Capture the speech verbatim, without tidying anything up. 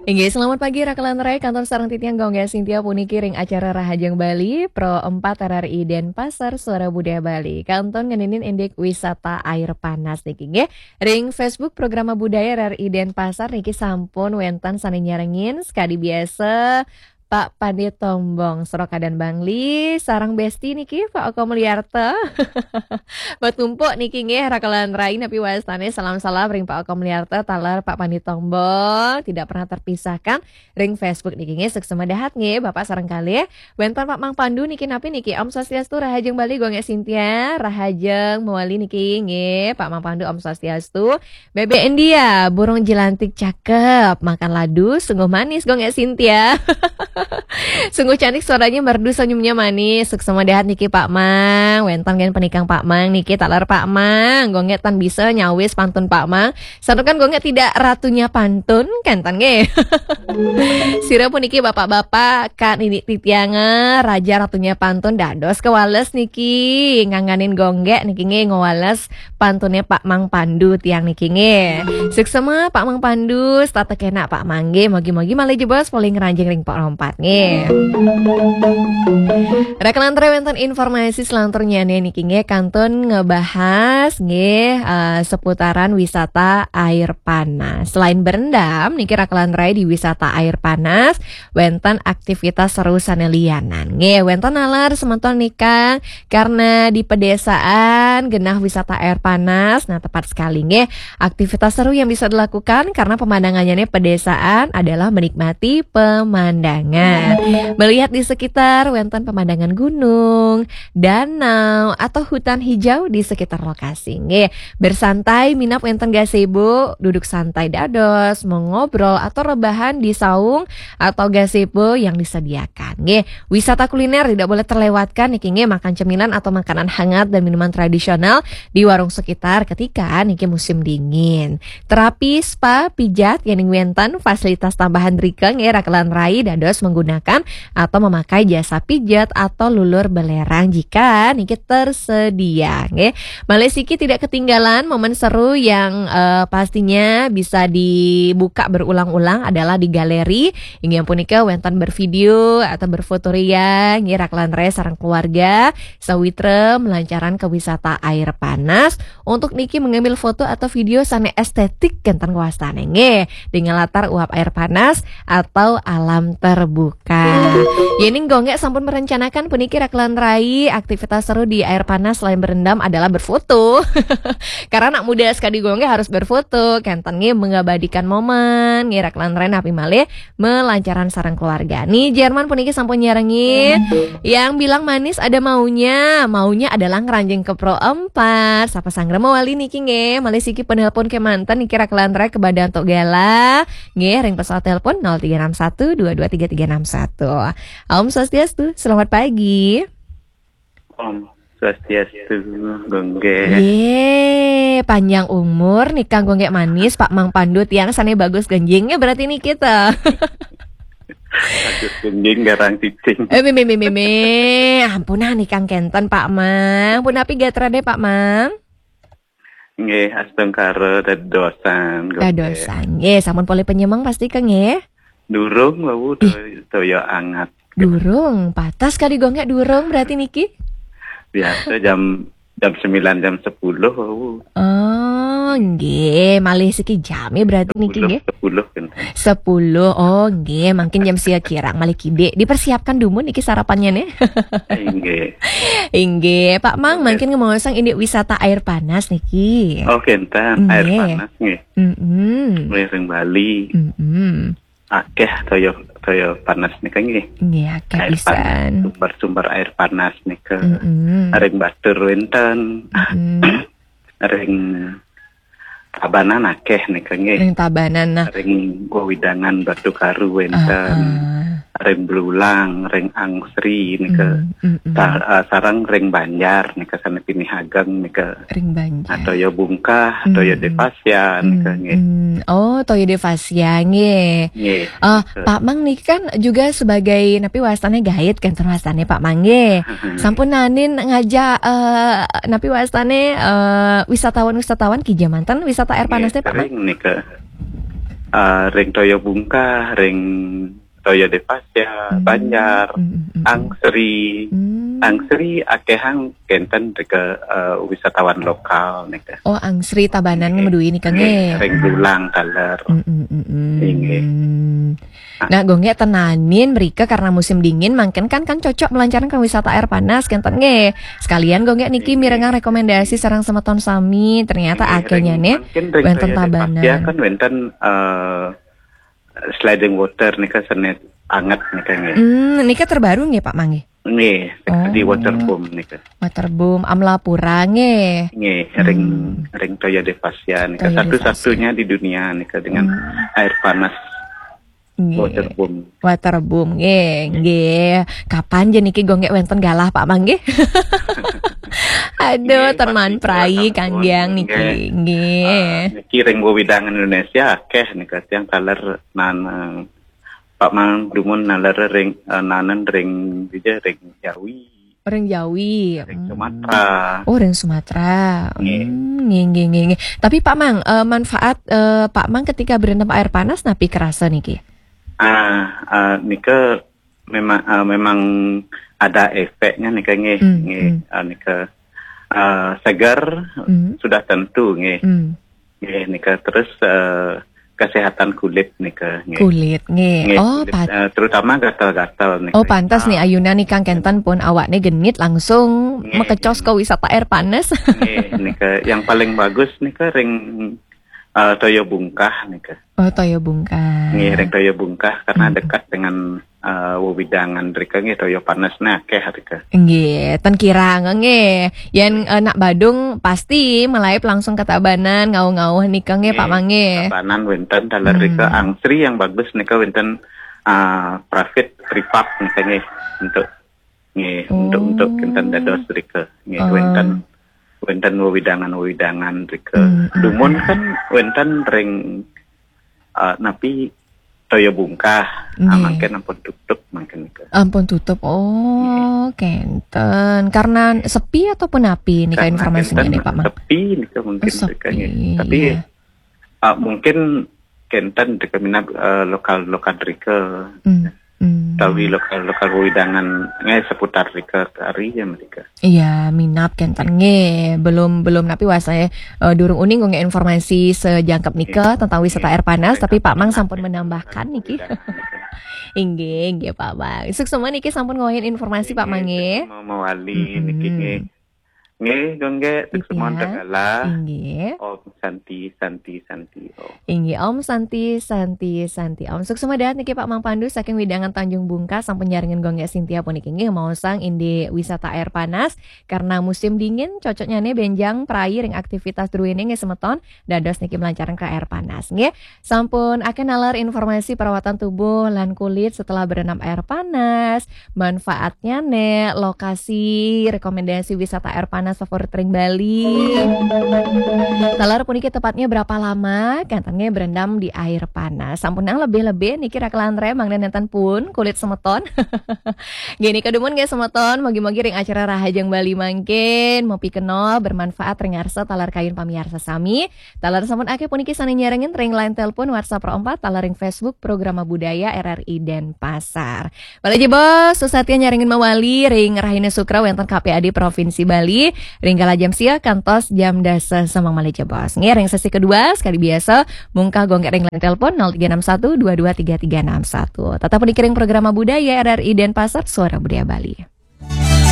Inggih, selamat pagi Rakelan Rai, kantun sareng titiang Gung Gek Sintia puniki ring acara Rahajeng Bali, Pro empat R R I Denpasar, Suara Budaya Bali. Kantun ngeninin indik wisata air panas niki nggih. Ring Facebook Programa Budaya R R I Denpasar niki sampun wenten sane nyarengin, sekadi biasa Pak Pandi Tombong, Srokadan Bangli, sareng Besti niki Pak Oko Mulyarta. Batumpuk niki nggih, Rakelan Rai, napi wastane salam-salam ring Pak Oko Mulyarta, taler Pak Pandi Tombong, tidak pernah terpisahkan ring Facebook niki nggih, suksma dahat nggih, Bapak sareng kalih. Wenten Pak Mang Pandu niki, napi niki, Om Swastiastu, Rahajeng Bali, Gung Gek Sintia, Rahajeng mawali niki nggih, Pak Mang Pandu, Om Swastiastu. Bebek India, burung jelantik cakep, makan ladu sungguh manis, Gung Gek Sintia. Sungguh cantik suaranya, merdu senyumnya manis. Suksma dahat niki Pak Mang. Wenten nggih penikang Pak Mang niki, taler Pak Mang. Gung Gek tan bisa nyawis pantun Pak Mang. Santukan Gung Gek tidak ratunya pantun, kenten nggih. Sira puniki bapak-bapak, Kak Nini Titianga, raja ratunya pantun dados kewales niki. Nganganin Gung Gek niki nggih ngewales pantune Pak Mang Pandu tiang niki nggih. Suksma Pak Mang Pandu, setata kenak Pak Mang nggih. Mogi-mogi malih jebos polih ngranjing ring Pro empat nggih. Rakelan Rai, wenten informasi selanturnya niki nggih, kantun ngebahas nggih, eh, seputaran wisata air panas. Selain berendam niki Rakelan Rai, di wisata air panas wenten aktivitas seru sane lianan. Nggih, wenten nalar semeton nikang karena di pedesaan genah wisata air panas. Nah, tepat sekali nggih. Aktivitas seru yang bisa dilakukan karena pemandangannya nih pedesaan adalah menikmati pemandangan. Melihat di sekitar wenten pemandangan gunung, danau, atau hutan hijau di sekitar lokasi. Nggih, bersantai minab wenten gazebo, duduk santai dados, mengobrol atau rebahan di saung atau gazebo yang disediakan. Nggih, wisata kuliner tidak boleh terlewatkan niki nggih, makan cemilan atau makanan hangat dan minuman tradisional di warung sekitar ketika niki musim dingin. Terapi spa, pijat, yening wenten fasilitas tambahan drika nggih, Rakelan Rai dados menggunakan atau memakai jasa pijat atau lulur belerang jika niki tersedia nggih. Malih siki tidak ketinggalan momen seru yang, eh, pastinya bisa dibuka berulang-ulang adalah di galeri. Inggih punika wenten bervideo atau berfoto ria nggih, Rakelan Rai sareng keluarga sawitra melancaran ke wisata air panas. Untuk niki mengambil foto atau video sane estetik kenten kewastane nggih, dengan latar uap air panas atau alam terbuka. Yening Gung Gek sampun merencanakan puniki, Rakelan Rai, aktivitas seru di air panas selain berendam adalah berfoto. Karena anak muda sekadi Gung Gek harus berfoto, kenten nggih mengabadikan momen nggih, Rakelan Rai, napi malih melancaran sareng keluarga. Nih, Jerman puniki sampun nyarengin. Yang bilang manis ada maunya, maunya adalah ngranjing ke Pro empat. Sapa sanggra mawali niki nggih, malih siki penelpon kemanten niki, Rakelan Rai, kebadan tok gala. Nggih, ring pesawat telepon nol tiga enam satu dua dua tiga tiga enam satu. Om Swastiastu, selamat pagi. Om Swastiastu, Gung Gek. Ye, panjang umur nikang Gung Gek manis, Pak Mang Pandu tiang sane bagus genjingnya berarti niki ta. Bagus genjing garang cicing. Eh, meme, meme, meme. Ampun ah, nikang kenten, Pak Mang. Punapi gatrane, Pak Mang? Nggih, astungkara dadosan, Gung Gek. Dadosan. Nggih, sampun polih penyemeng pasti ke nggih? Durung wau, to-, toya anget. Durung, patas kali Gung Gek durung berarti niki? Biasa jam, jam sembilan, jam sepuluh wau. Oh, nggih, malih siki jame berarti niki nggih. Sepuluh, sepuluh kan. Sepuluh. Oh, nggih, mungkin jam sia kirang malih kidik. Dipersiapkan dumun niki sarapannya nih. Inggih. Inggih, Pak Mang, mungkin ngemaosang indik wisata air panas niki. Oh, kenten, air panas nggih. Mm-mm. Nggih, ring Bali. Mm-mm. Akeh toya, toya panas nika nggih. Nggih, akeh pisan. Sumber-sumber air panas nika. Mm-mm. Ring Batur wenten. Mm-mm. Ring Tabanan akeh nika nggih. Ring Tabanan, nah. Ring Wewidangan Batu Karu wenten. Ah, ah. Ring Belulang, ring Angsri nika. Mm, mm, mm. Sa-, eh, sareng ring Banjar nika sane pinih ageng nika. Ring Banjar. Toya Bungkah, toya Devasya nika nggih. Mm. Oh, toya Devasya nggih. Nggih. Eh, nika. Pak Mang niki kan juga sebagai napi wastane guide, kenten wastane Pak Mang nggih. Sampun naenin ngajak, eh, napi wastane, eh, wisatawan-wisatawan kija manten wisata air panas teh, Pak Mang? Nggih, sering nika. Eh, ring toya Bungkah, ring toya Depasia, Hmm, Banjar, hmm, hmm, hmm. Angsri. Hmm. Angsri akehang kenten rika, eh, wisatawan lokal nika. Oh, Angsri Tabanan Nggih. medui nika Nggih, nggih. Ring Dulang taler. Mm, mm, mm, mm. Inggih. Nah, gongge tenanin mereka karena musim dingin, mungkin kan kan cocok melancarkan wisata air panas, kenten nggih. Sekalian gongge niki Inggih. Mirengang rekomendasi sareng semeton sami, ternyata Nggih, akhirnya ring, nih mungkin ring wenten toya Depasia Tabanan. Kan wenten, eh, sliding water nika, senet anget nika nggih. Hmm, nika terbaru nggih Pak Mang nggih? Nggih, di Oh. Waterboom nika. Waterboom, Amlapura nggih. Nggih, ring Hmm. ring toya Depasia nika Toya satu-satunya di dunia nika dengan Hmm. air panas Nggih. Waterboom. Waterboom nggih, nggih. Kapan je niki gongge wenten galah Pak Mang nggih? Aduh, Nggih, teman pasti prai galah sampun, kanggiang niki, nggih. Nggih. Ah, niki ring wewidangan Indonesia akeh nika tiang taler nan, eh, Pak Mang dumun naler ring, eh, nanen ring dija ring Jawi, Ring Jawi. Ring Hmm. Sumatera. Oh, ring Sumatera. Nggih. Hmm, nggih, nggih, nggih, nggih. Tapi Pak Mang, eh, manfaat, eh, Pak Mang ketika berendam air panas napi kerasa niki? Ah, ah, nika memang, ah, memang ada efeknya nika nggih. Hmm, Nggih, hmm. Ah, nika, ah, segar Hmm. sudah tentu nggih. Hmm. Nggih, nika terus, eh, kesehatan kulit nika nggih. Kulit nggih. Nggih, Oh, kulit, pat- eh, terutama gatal-gatal nika. Oh, pantas nih Ah, ayunan nih Kang kenten pun awakne genit langsung Nggih, mekecos nggih. Ke wisata air panas. Nggih, nika yang paling bagus nika ring, eh, toya Bungkah nika. Oh, toya Bungkah. Nggih, ring toya Bungkah karena Hmm. dekat dengan, eh, wewidangan rika nggih, toya panas nah akeh rika. Nggih, ten kirang nggih. Yen, eh, nak Badung pasti melaib langsung ke Tabanan, ngauh-ngauh nika nggih Pak Mang nggih. Tabanan wenten taler Hmm. rika, Angsri yang bagus nika wenten, ah, private privat nika nggih untuk nggih untuk untuk Oh. kenten dados rika nggih Oh. wenten wenten wewidangan-wewidangan rika. Hmm, hmm, Dumun hmm. Kan wenten ring, ah, napi toya Bungkah. Ah, Nggih. Mangkin ampun tutup mangkin nika. Ampun tutup. Oh, kenten. Karena sepi ataupun napi nika Karena informasinya kenten nih Pak Mang? Sepi nika mungkin Oh, rika nggih. sepi, Tapi, iya. ah, mungkin kenten rika minab, eh, lokal-lokal rika. Hmm, hmm. Tawi lokal-lokal wewidangan nggih seputar rika kari ya mereka. Iya, minab kenten nggih. Belum, belum napi wasaya, eh, durung uning nggih informasi sejangkep nika tentang wisata air panas, tapi Pak Mang sampun menambahkan niki. Inggih, inggih Pak Mang. Suksma niki sampun ngawahin informasi Pak Mang nggih. Suksma mawali Mm-mm. niki nggih. Nggih, gongge, suksma Iya. Tegala. Inggih. Om Santi, Santi, Santi, Om. Inggih, Om Santi, Santi, Santi, Om. Suksma dahat niki Pak Mang Pandu saking wewidangan Tanjung Bungkah sampun nyarengin gongge Sintia puniki nggih maosang indik wisata air panas karena musim dingin cocoknya nih benjang prai ring aktivitas druene nggih semeton dados niki melancarkan ke air panas nggih. Sampun akeh nalar informasi perawatan tubuh lan kulit setelah berendam air panas, manfaatnya nih, lokasi rekomendasi wisata air panas favorit ring Bali. Talar puniki tepatnya berapa lama kenten nggih berendam di air panas? Sampun nang lebih-lebih niki rakelan remang dan nenten pun kulit semeton. Gini kedumun nggih semeton, mogi-mogi ring acara Rahajeng Bali mangkin mapikenoh bermanfaat ring ngarsa talar kayun pamiarsa sami. Talar sampun akeh puniki sane nyarengin ring line telepon WhatsApp Pro empat, talar ring Facebook Programa Budaya R R I Denpasar. Malih jebos, susatia nyarengin mawali ring Rahina Sukra wenten K P A D Provinsi Bali, ring kala jam sia kantos jam dasa semeng malih jebos. Nggih, ring sesi kedua, sekali biasa, mungkah gongge ring line telepon nol tiga enam satu dua dua tiga tiga enam satu. Tetap puniki ring Programa Budaya R R I Denpasar, Suara Budaya Bali.